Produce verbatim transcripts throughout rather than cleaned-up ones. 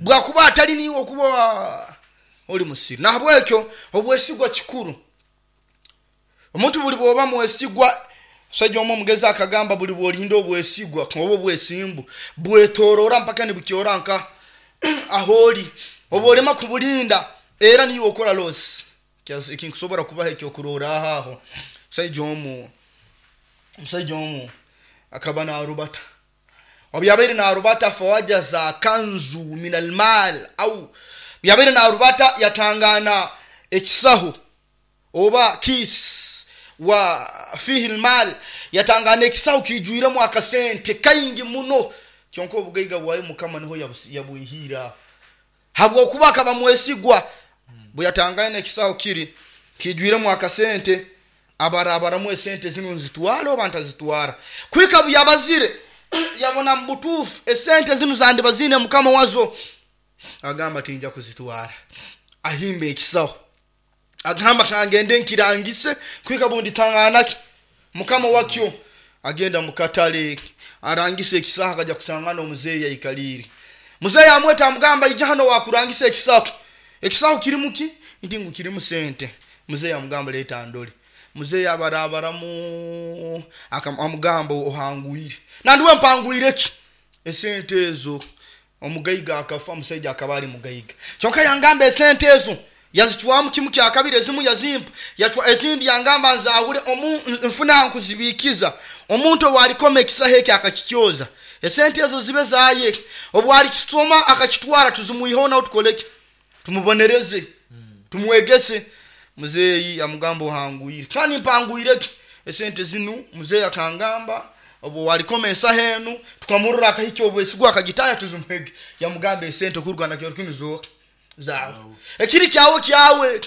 Bwakuba atali niwe okuba oli musiru. Nahabwekyo obwesigwa kikuru. Omuntu buli bwoba mwesigwa, omusajja omu omugezi akagamba buli bwolinda obwesigwa oba obwesimbu bwetorora mpaka nibukyora nka aholi. Oba olema kubulinda era niwe okora loss. Ekinkusobora kubaha ekyokurorraho aho, omusaija omu omusaija omu akaba narubata. Obu yabaire narubata, fawajaza kanzu min almal au yabaire narubata yatangana ekisaho oba kis wa fihi lmal, yatangana ekisaho kijwiremu akasente kaingi muno. Kyonka obugaiga bwayo Mukama niho yabwihire aho, habwokuba akaba mwesigwa. Bwe yatangaine ekisaho kiri kijwiremu akasente, abarabaramu esente zinu nzitwara oba ntazitwara. Kuhika buyabazire yabona mu butuufu esente zinu zandiba ziine mukama wazo, agamba tinja kuzitwara. Ahimba ekisaho, agamba kangende nkirangise kuhika bunditanganaki mukama wakyo. Agenda mukatale arangisa ekisaho, akaja kusangana omuzeeyi aikaliire. Muzeeyi amweta amugamba, ija hano wakurangisa ekisaho. Ekisaho kirimu ki? Nti ngu kirimu sente. Muzeeyi amugamba leeta ndole. Muzeeyi abarabaramu amugamba ohanguire. Nandiwe mpanguire ki? Esente ezo. Omugaiga akafa, omusaija akaba ali mugaiga. Kyonka yangamba esente ezo yazicwamu kimu kyakabiri, ezimu yazimpa, yacwa ezindi yangamba nzahule omu nfuna nkuzibikiza. Omuntu owalikoma ekisaho eki akakikyoza, esente ezo zibe zaye. Obwalikisoma akakitwara tuzimwiheho nawe tukoleki? Tumubonereze, tumwegese. Muzeeyi amugamba ohanguire. Kandi mpanguire ki? Esente zinu muzeeyi akangamba obu walikoma ensaho enu tukamurora akahikya obwesigwa akagitaya tuzimuhege. Yamugamba esente kuruga na kiro kinu zooka zawe. Ekiri kyawe kyawe,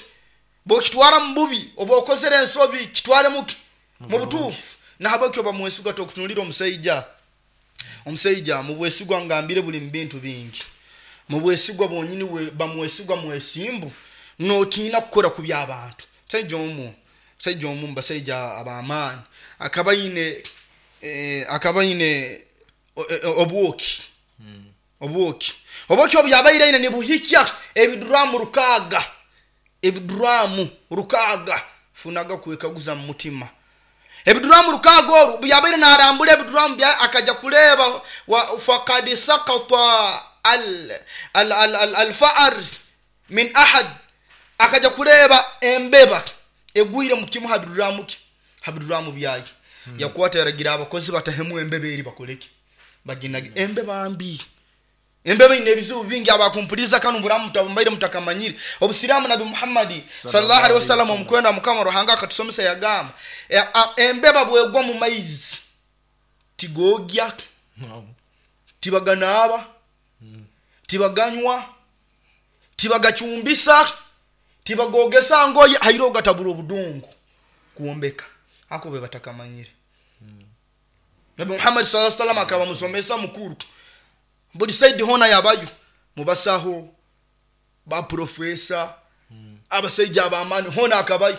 bwokitwara mu bubi oba okozere ensobi, kitware muki? Mu butuufu. Nahabwekyo oba mwesigwa. Tokutunulira omusaija. Omusaija mu bwesigwa ngambire buli mu bintu bingi. Mu bwesigwa bwonyini bamwesigwa mwesimbu, notiina kukora kubi abantu. Musaija omu, musaija omu mubasaija ab'amaani akaba aine akaba aine obwoki. Obwoki. Obwoki obu yabaire aine nibuhikya ebiduramu rukaaga. Ebiduramu rukaaga. Funaga kwekaguza mu mutima. Ebiduramu rukaaga oru obu yabaire narambura ebiduramu byawe akaja kureeba fakad sakata alfaar min ahad, akaja kureeba embeba egwire mu kimu ha biduramu ki? Ha biduramu byaye. Yakwata yaragira abakozi batahemu embeba eri bakoleki? Baginage. Embeba mbi. Embeba ine ebizibu bingi. Abakumpuliriza kanu buramu mbaire mutakamanyire. Obusiramu Nabi Muhammad sallallahu alaihi wasallam omukwenda Mukama Ruhanga akatusomesa yagamba embeba bwegwa mu maizi tigogya, tibaganaaba, tibaganywa, tibagacumbisa, tibagogesa ngoye, haire ogatabura obudongo kwombeka. Ako be batakamanyire. Nabi Muhammad sallallahu alaihi wasallam akaba musomesa mukuru. Buli saidi hona yabayo, mubasaho, ba profesa, abasaija ab'amaani hona akabayo.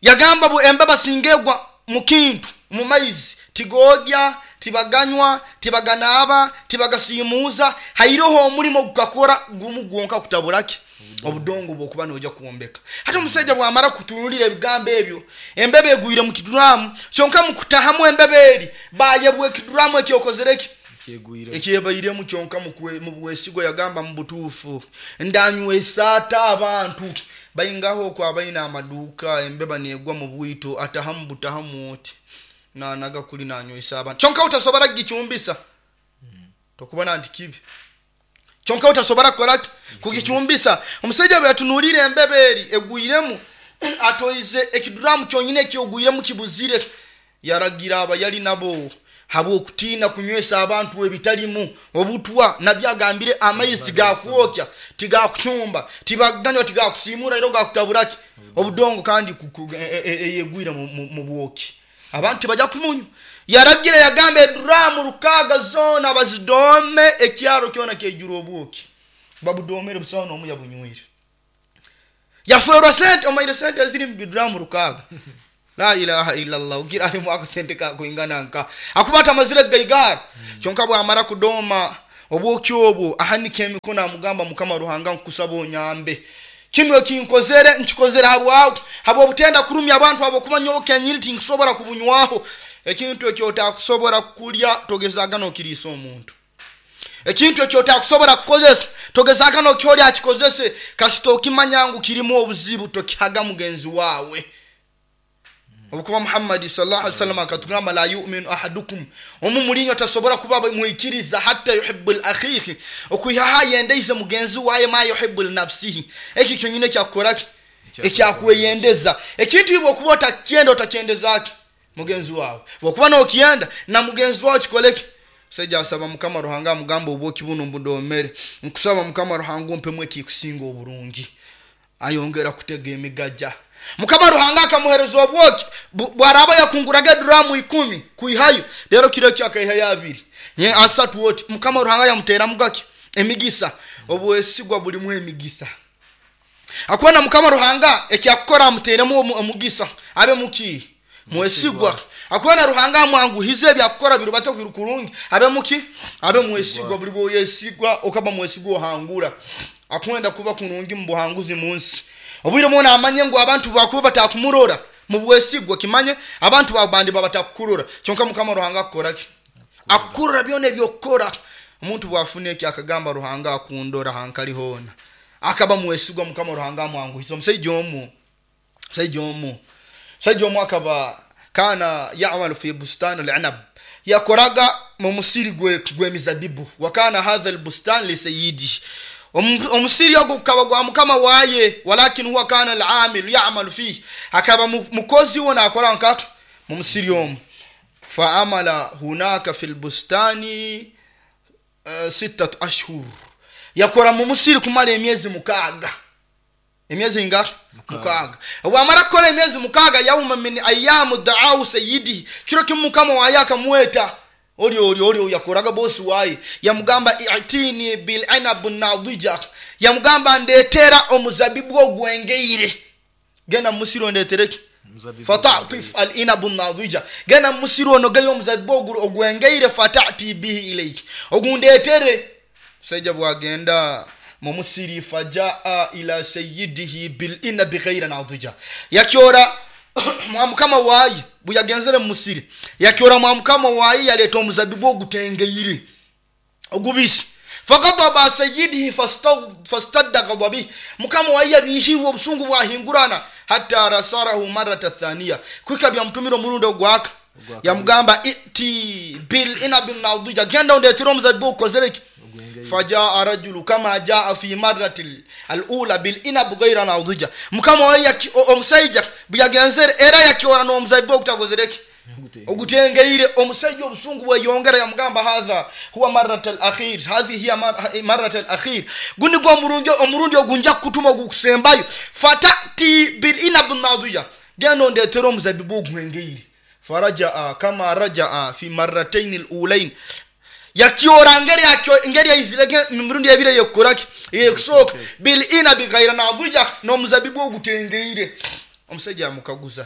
Yagamba bu embeba singegwa mu kintu mu maizi tigogya, tibaganywa, tibaganaaba, tibagasiimuuza, hairoho omulimo gukakora gumu gwonka kutaburaki obudongo bwokuba noija kwombeka. Hati omusaija bwamara kutunulira ebigambo ebyo, embeba egwire mu kiduramu, kyonka mukutahamu embeba eri bayebwa ekiduramu ekyokozere ki? Ekyebairemu. Kyonka mu bwesigwa yagamba mu butuufu ndanywesa ata abantu baingaho okwo abaine amaduuka, embeba negwa mu bwito atahamu butahamu oti nanaga kuli nanywesa abantu. Kyonka utasobora kugicumbisa, tokubona nti kibi. Kyonka utasobora kukora ki? Kugicumbisa. Omusaija bwe yatunulire embeba eri egwiremu, atoize ekiduramu kyonyini ekyogwiremu kibuzire, yaragira abayali nabo habwokutiina kunywesa abantu ebitalimu obutwa. Nabbi agambire amaizi tigakwokya, tigakucumba, tibaganywa, tigakusiimura, era gakutaburaki obudongo, kandi eyegwire mu bwoki abantu tibajya kumunywa. Yaragira yagamba eduramu rukaaga zoona bazidome, ekyaro kyona kyaijura obwoki. Babudomere, busaho n'omu yabunywire. Yafwerwa sente, omaire sente eziri mu biduramu rukaaga. La ilaha illallah, ugira halimu akasente kakwingana nka akuba atamazire kugaigara. Kyonka bwamara kudoma Obwoki obwo ahanika emikono amugamba, Mukama Ruhanga nkusaba onyambe, kino ekinkozere nkikozere habwawe, habwobutenda kurumya abantu, habwokuba nyowe kenyini tinkusobora kubunywaho. Ekintu ekyo otakusobora kulya togezaga nokiriisa omuntu, ekintu ekyo otakusobora kukozesa togezaga nokyoli akikozese. Kasita okimanya ngu kirimu obuzibu, tokihaga mugenzi wawe. Obukuba Muhammadi sallallahu alaihi wasallam akatugamba, la yuminu ahadukum, omu mulinywe tasobora kuba mwikiriza hatta yuhibbu akhihi, okwihaho ayendeize mugenzi waye ma yuhibbu linafsihi. Eki kyonyine ekyakukoraki, ekyakweyendeza. Ekintu bwokuba otakyenda otakyendezaki mugenzi wawe, bwokuba nokyenda na mugenzi wawe kikoleki. Musaija asaba Mukama Ruhanga amugamba, obwoki buno mbudomere, nkusaba Mukama Ruhanga ompemu ekikusinga oburungi. Ayongera kutega emigaja. Mukama Ruhanga akamuhereza obwoki bwaraba yakunguraga eduramu ikumi kuihayo, lero kiro ekyo akaihayo abiri nye asatu oti. Mukama Ruhanga yamuteramu gaki emigisa. Obwesigwa bulimu emigisa. Akubona Mukama Ruhanga ekyakukora amuteremu omugisa, abe muki mwesigwa. Akubona Ruhanga amwanguhize ebyakukora birubate kurungi, abe muki abe mwesigwa. Buli bwoyesigwa okaba mwesigwa ohangura. Akwenda kuba kurungi mu buhanguzi munsi. Obwire mwona amanye ngu abantu bakuba batakumurora mu bwesigwa, kimanye abantu babandi babatakurora. Kyonka Mukama Ruhanga akukoraki, akurora byona ebyokukora. Omuntu bwafuna eki akagamba Ruhanga akundora hankali hona, akaba mwesigwa. Mukama Ruhanga amwanguhiza. Omusajja omu omusajja omu omusajja omu akaba kana yamalu fi bustani al-inab, yakoraga mu musiri gw'emizabibu. Wakana hadha al-bustan li sayyidi, omusiri ogwo gukaba gwa mukama waye, walakin huwa kana al-amil ya'malu fihi, akaba mukozi wo nakora nkaka mu musiri omu. Fa'amala hunaka fi al-bustani uh, sittatu ashhur, yakora mu musiri kumala emyezi mukaaga. Emyezi nga mukaaga. Wamara kukora emyezi mukaaga, yauma min ayamu da'au sayyidi, kiro kimu mukama waye akamweta oli oli oli yakoraga bosi waye, yamugamba i'tini bil inab nadija, yamugamba ndetera omuzabibu ogwengeire. Genda musiro ndetereki fata'tif al inab nadija, genda musiro onogeyo omuzabibu ogwengeire, fata'ti bihi ilayhi, ogundetere. Musajja bwagenda mumusiri, fajaa ila sayyidihi bil inab ghayra nadija, yakyora mukama waye buyagenzere musiri, yakyora mukama waye yaleta omuzabibu ogutengeire ogubisi. Faghadaba sayyidihi fastadda ghadabihi, mukama waye yabihirwa obusungu bwahingurana, hatta rasarahu marata thaniya, kwika byamutumira omurundi ogwaka, yamugamba iti bil inab nadija, genda ondetere omuzabibu ogukozereki. Fajaa rajulu kama jaa fi marrati alula bil inab ghayra nadija, mukama waye omusajja buyagenzere era yakyora n'omuzabibu ogutagozereki ogutengeire. Omusajja obusungu bweyongera, yamugamba hadha huwa marrat al-akhir, hadhi hiya marrat al-akhir, guni gwo omurundi omurundi ogunja kutuma ogukusembayo. Fatati bil inab nadija, genda ondetere omuzabibu ogwengeire. Farajaa kama rajaa fi marratayn al-ulayn, yakyora ngeri yakyo ngeri yaizirege mirundi ebire yokoraki yekusoka bil inabi ghayra nadija, n'omuzabibu ogutengeire. Omusajja amukaguza,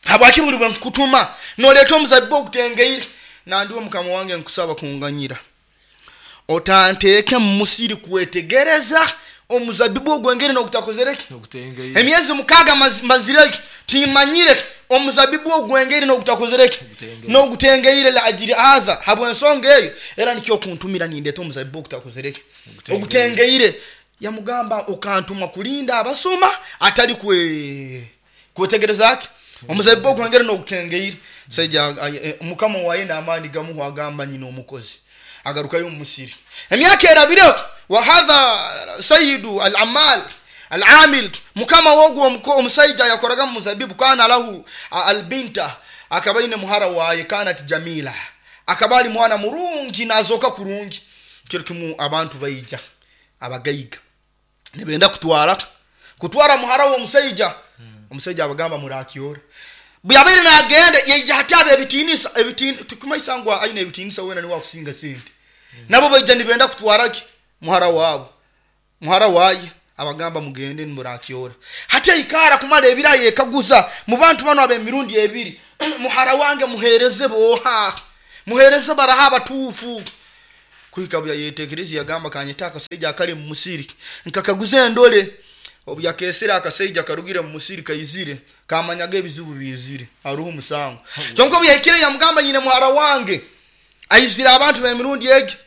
habwaki buli bwe nkutuma noleta omuzabibu ogutengeire? Nandiwe mukama wange nkusaba kunganyira, otanteeke mu musiri kwetegereza omuzabibu ogwengere n'ogutakozereki emyezi mukaaga mazireki, timanyire omuzabibu ogwengere n'ogutakozereki n'ogutengeire la ajiri adha, habwensonga eyo era nikyo kuntumira nindeta omuzabibu ogutakozereki ogutengeire. Yamugamba okantuma kulinda abasuma atali kwe kwetegerezaki omuzabibu ogwengere n'ogutengeire. Saija mukama waye n'amaani gamuhu agamba nyina omukozi agarukayo mu musiri. Emyaka erabire, wa hadha sayyidu al-amal al-amil, mukama wogwo omusajja yakoraga mu muzabibu, kana lahu albinta, akabaine muhara waye kanat jamila, akabali mwana murungi nazoka kurungi. Kiro kimu abantu baija abagaiga nibenda kutwara kutwara muhara wo omusajja. Omusajja abagamba murakiora buyabere nagenda yaija hatabe ebitinisa ebitini tukumaisa ngo aine ebitinisa wena ni wakusinga sente, nabo baija nibenda kutwaraki muhara wabo muhara waye. Abagamba mugende nimurakiora. Hata ikara kumala ebira yekaguza mu bantu bano abemirundi ebiri, muhara wange muhereze boha muhereze baraha abatufu. Kuhika bwe yayetekereza yagamba kanyeta akasaija akali mu musiri nkakaguza endole. Obu yakesera akasaija karugire mu musiri kaizire kamanyaga ebizibu bizire haruho omusango. Kyonka obu yahikire yamugamba nyine muhara wange aizire abantu b'emirundi egi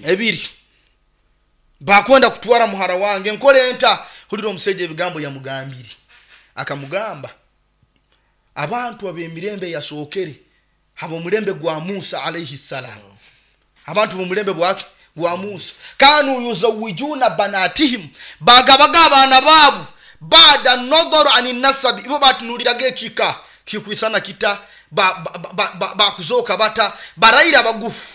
ebiri bakwenda kutwara muhara wange nkole nta. Hulira omusaija ebigambo yamugambire. Akamugamba abantu ab'emirembe yasookere ab'omulembe gwa Musa alayhi salam, abantu b'omulembe bwake gwa Musa, kanu yuzawijuna banatihim, bagabaga abaana baabo bada nodhoro ani nasabi, ibo batunuliraga ekika kikwisana kita bakuzoka ba, ba, ba, bata baraira bagufu.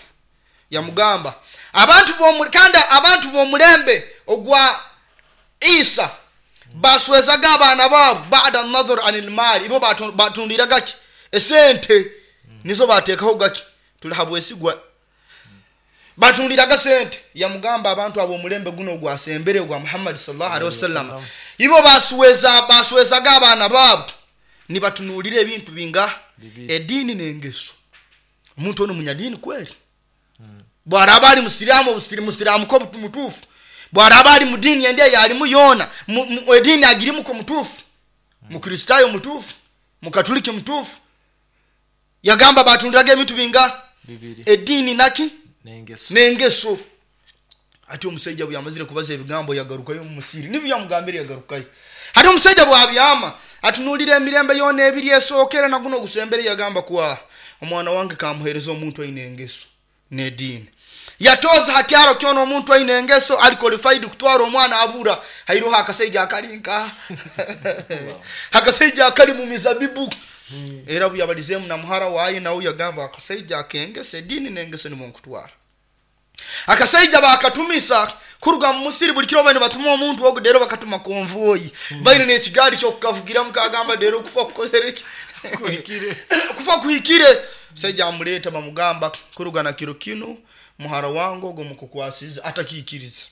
Yamugamba abantu b'omu kandi abantu b'omulembe ogwa Isa baswezaga abaana baabo bada nadhor anil mali, ibo batunuliraga ki esente nizo bateekaho gaki tuli habwesigwa batunuliraga sente. Yamugamba abantu ab'omulembe guno ogwasembere ogwa Muhammad sallallahu alaihi wasallam, ibo basweza baswezaga abaana baabo nibatunulira ebintu binga edini n'engeso. Omuntu ono munyadini kweli, bwaraba ali musiramu obusirimu musiramu ko mutuufu, bwaraba ali mudini ende yalimu yona edini agirimu ko mutuufu, mukristayo mutuufu, mukatuliki mutuufu. Yagamba batunuliraga ebintu binga edini naki n'engeso. Ati omusajja bwe yamazire kubaza ebigambo yagarukayo mu musiri, nibyo yamugambire yagarukayo. Hati omusajja bwabyama atunulira emirembe yona ebiri esookera na guno ogusembere, yagamba kwa omwana wange kamuhereza omuntu aine engeso n'edini. Yatoza hakyaro kyona omuntu aine engeso ali qualified kutwara omwana abura. Hairoho akasaija akalinka akasaija akali mu mizabibu. Era bwe yabalizemu na muhara waye nawe yagamba akasaija akengese edini n'engeso nimwo nkutwara. Akasaija bakatumisa kuruga mu musiri buli kiro bane batuma omuntu ogo dero bakatuma konvoyi baine n'ekigaali kyokukavugiramu kagamba dero kufa kukozereki kuhikire kufa kuhikire. Saija amuleta bamugamba kuruga na kiro kino muhara wangu ogo mukukwasiza atakikiriza.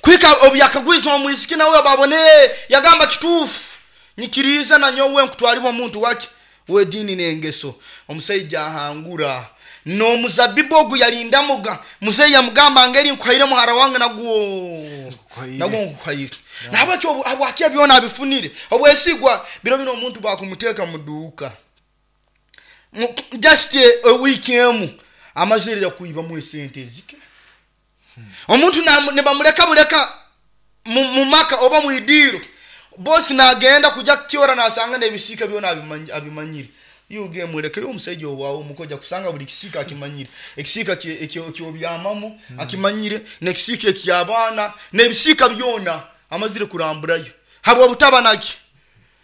Kwika obyakagwiza omwisiki nawe babone yagamba kituufu nyikiriza na nyowe nkutwalibwa omuntu waki wedini n'engeso. Omusaija ahangura n'omuzabibu ogu yalindamuga muzeeyi yamugamba ngeri nkuhaire muhara wange nagwo nagwo nkuhaire. Nabakyo abwakia byona abifunire obwesigwa. Biro bino omuntu bakumuteeka mu duuka just a week emu amazirira kuibamu esente zike. Omuntu nibamuleka buleka mu maka oba mu idiiro, bosi nagenda kujja kukyora nasanga n'ebisiika byona abimanyire. Yuge muleke omusajja owaawe omukoja kusanga buli kisiika akimanyire, ekisiika ekyobyamamu akimanyire, n'ekisiika ekyabaana n'ebisiika byona amazire kuramburayo habwa butaba naki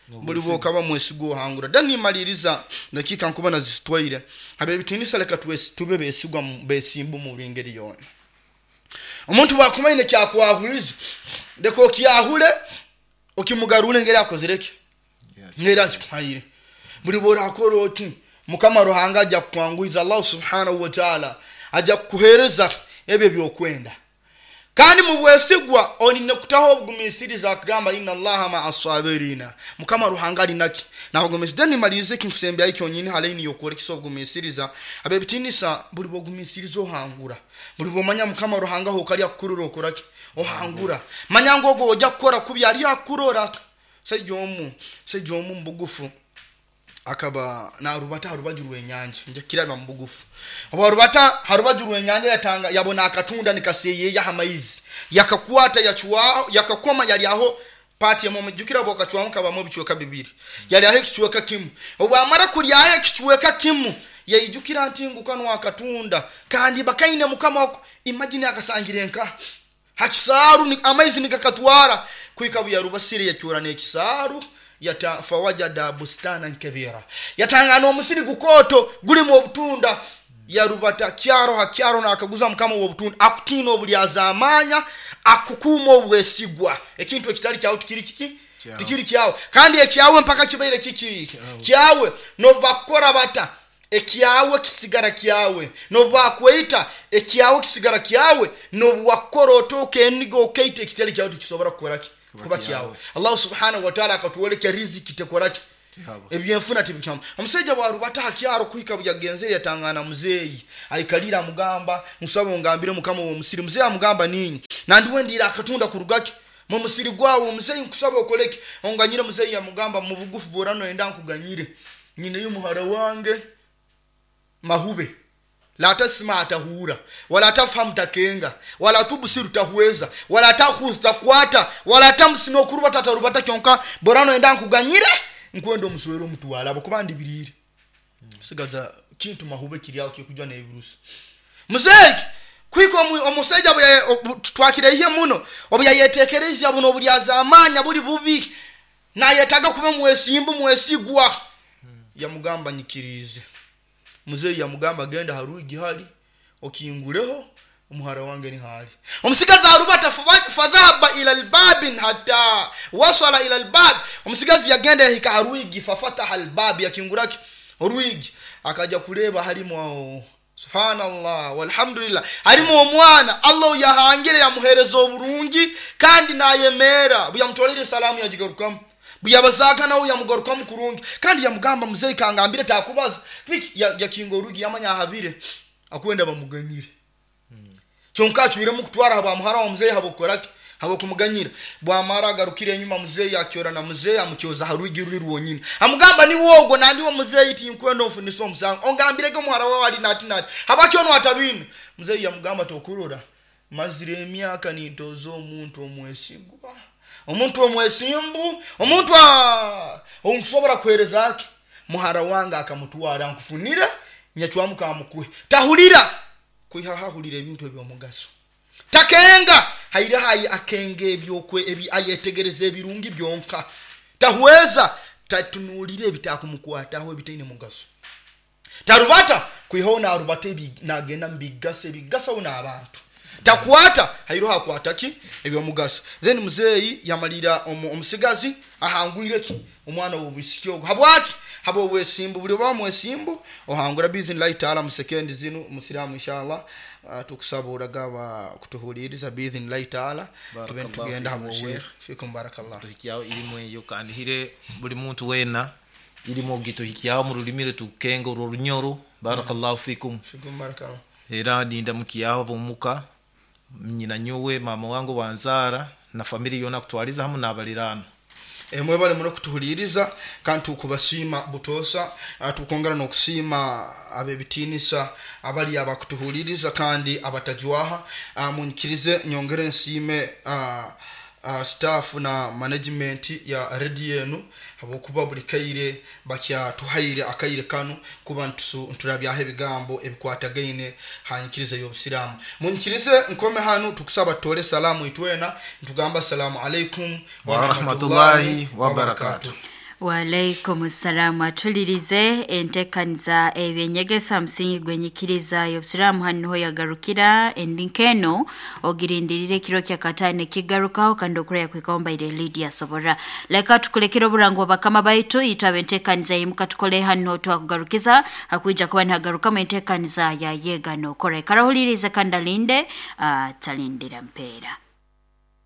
buli bwokaba mwesigwa ohangura. Dani maliriza dakika nkuba nazitwaire abebitinisa leka tube besigwa besimbu mu ngeri yona. Omuntu bwakumaine kyakwahwiza leka okyahure okimugarure ngeri akozereki ngeri akikuhaire. Buli bworakora oti Mukama Ruhanga ajja kukwanguiza, Allah subhanahu wa ta'ala ajja kukuhereza ebyo byokwenda. Kandi mu bwesigwa olina kutaho obugumisiriza akagamba inna Allaha ma'a sabirina, Mukama Ruhanga ali naki nabugumisiriza. Deni malirize kinkusembyayo kyonyini halaini yokwolekesa obugumisiriza abebitinisa. Buli bwogumisiriza ohangura, buli bwomanya Mukama Ruhanga hokali akukurura okoraki ohangura. Manya ngu ogwo ojja kukora kubi ali akurora. Saija omu saija omu mubugufu akaba narubata harubaju rw'enyanja nja kiraba mubugufu obarubata harubaju rw'enyanja yatanga yabona akatunda nikaseyeya hamaizi yakakwata yachuwa yakakoma yali aho pati ya mumujukira bokachwamu kabamu ebichweka bibiri yali aho ekichweka kimu. Obwamara kulyayo ekichweka kimu yaijukira nti ngukano akatunda kandi bakaine mukama wako. Imagine akasangire nka hakisaaru amaizi nikakatwara kuika buyarubasire yakyora n'ekisaaru yata fawajada bustana nkebira yatangana omusiri gukoto gulimu obutunda yarubata kyaro hakyaro nakaguza mukama w'obutunda akutina obulyazamanya akukuma obwesigwa. Ekintu ekitali kyawe tikiri kiki tikiri kyawe kandi ekyawe mpaka kibaire kiki kyawe nobakora bata ekyawe kisigara kyawe nobakweita ekyawe kisigara kyawe nobwakora otoke enigo okeita ekitali kyawe tikisobora kukoraki kuba kyawe. Allah subhanahu wa ta'ala akatuwoleka riziki tekoraki Ebyenfuna tibikyamu. Omusajja bwarubata ha kyaro kuhika buyagenzere yatangana muzeeyi aikalira amugamba, nsaba ongambire mukama w'omusiri. Muzeeyi amugamba, ninyi nandiwe ndira akatunda kurugaki mu musiri gwawe. Muzeeyi nkusaba okoleki, onganyire. Muzeeyi yamugamba, mu bugufu bworano enda nkuganyire, nyineyo muhara wange mahube la tasima atahura wala tafhamu takenga wala tubsiru tahweza wala takhuz takwata wala tamsi nokuruba tatarubata kyonka borano enda nkuganyire nkwenda omuswero omutwala abakuba ndibirire sigaza kintu mahube kiri kikujwa n'ebirusi. Muzeeyi kwika omusajja twakireihe muno obuyayetekereza buno obulyazamanya buli bubi nayetaga kuba mwesimbu mwesigwa. Yamugamba nyikirize. Muzeeyi yamugamba genda haruigi hali okinguleho omuhara wange ni hali. Omusigazi arubata fadhahaba ila albabin hatta wasala ila albab. Omusigazi yagenda yahika haruigi fafataha albab, yakinguraki oruigi akaja kuleba halimu subhanallah walhamdulillah halimu omwana Allah yahangire yamuhereza oburungi kandi nayemera buyamutolere salamu yajigarukamu buyabazaka nawe yamugarukamu kurungi kandi yamugamba muzeeyi kangambire takubaza piki yakinga orugi yamanya ahabire akwenda bamuganyire. Hmm. Kyonka acwiremu kutwara haba muhara wa muzeeyi habokoraki habokumuganyira. Bwamara agarukire enyuma muzeeyi akyora na muzeeyi amukyoza harugi ruri rwonyine amugamba ni wogo nandi wa muzeeyi tinkwenda ofunisa omusango ongambirege muhara wawe ali nati nati habakyo atabine. Muzeeyi yamugamba tokurora mazire emyaka nintoza omuntu omwesigwa omuntu omwesimbu omuntu onkusobora kuhereza ake muhara wange akamutwara nkufunira nyachwamu kamukuhe tahulira kuiha hahulira ebintu ebyomugaso takenga haire hayi akenge ebyokwe ebi ayetegereza ebirungi byonka tahweza tatunulire ebitakumkwataho ebitaine mugaso tarubata kuiho narubata ebi nagenda mbigase ebigasa una abantu takwata hairo hakwata ki ebyomugaso. Then muzeeyi yamalira omusigazi ahangwire ki omwana w'obwisiki ogwo habwaki habo obwesimbu buli oba mwesimbu ohangura biidhnillahi taala mu sekendi zinu musiramu inshallah. Uh, tukusaba uragaba kutuhuliriza biidhnillahi taala tube tugenda habo fikum barakallah tuhikiao ilimu eyo kandi hire buli muntu wena ilimu gituhikiao mu rulimi tukenga urunyoro barakallahu fikum fikum barakallah. Era ninda mukiao bomuka nyina nyowe mama wangu wanzara na family yona kutwaliza hamu n'abalirano. Emwe bale muno kutuhuliriza kandi tukubasiima butosa tukongera n'okusiima abebitinisa abali abakutuhuliriza kandi abatajwaha. Munkirize nyongere nsiime uh, staff na management ya radio yenu habwokuba buli kaire bakyatuhaire akaire kanu kuba nturabyaho ebigambo ebikwatagaine hanyikiriza y'obusiraamu. Munkirize nkome hanu tukusaba tutole salamu itwena ntugamba salamu alaikum wa rahmatullahi wa barakatuh. Waalaikum salamu. Atulirize entekaniza ebyenyegesa msingi gwenyikiriza y'obusiraamu hano yagarukira endinkeno ogirindirire kiro kya katane kigarukaho kandi okuraya kwikomba ile Lydia Sobora. Leka tukulekera oburango bakama baitu itwa entekaniza yimuka tukole hano twakugarukiza hakuija kuba ntagaruka mu entekaniza ya yega no kore karahulirize kandalinde uh, talindira mpera.